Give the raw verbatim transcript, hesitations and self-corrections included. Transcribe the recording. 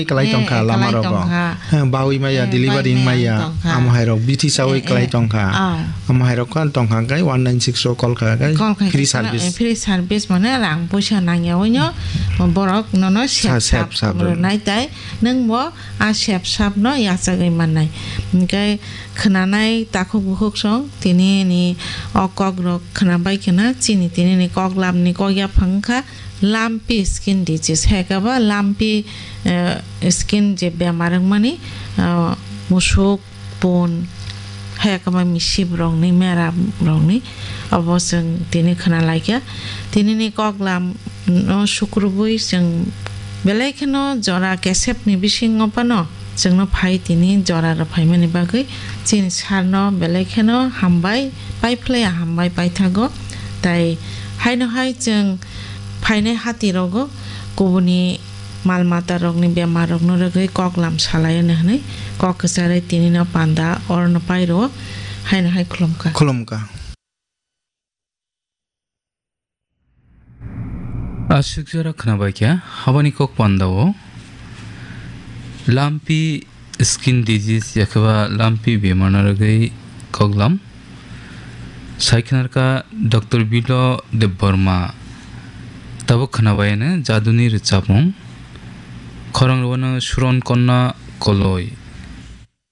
Kwlai tongkha lama rogo. He, bawi maya, delivery wng maya. Amo hai rok bithi sawi kwlai tongkha. Amo hai rok khan tongkha kai one nine six o call kha kai. Free service. Free service mane rang puisa nangya oino borok nono sep sap rwnai tai nwng bo a sep sap no yachagwi mannai. Hwnkhe khwnanai takhuk bukhuk song tini ni o kok rok khwnabai khwna chini tini ni kok lam ni kok yaphang wngkha. Lumpy skin disease, hai khe bo lumpy, eh, skin je bemar wngmani, ah, musuk, pun, hai khe bo misip rokni, mera rokni, obo chwng tini khwna laikha. Tini ni kok lam no sukrubui chwng belai kheno jora kesep ni bisingo phano chwngno phai tini jora rw phaimani bagwi chini sir no belai kheno hambai, paiphlaiya hambai paithago. Tai haino hai chwng phainai hati rogo kubuni mal mata rokni bemar rokno rwgwi kok lam salai hwnwi kok kwcharwi tini no panda orno pai rwo haino hai khulumkha. Khulumkha. Aswk jora khwnabaikha habani kok pandao lumpy skin disease yakhe ba lumpy bemar no rwgwi koklam. Sai khwnarkha Doctor Bilo Debbarma. Tabuk khwnabaiano jaduni rwchapmung. Khorang rwano Suron Konna Koloi.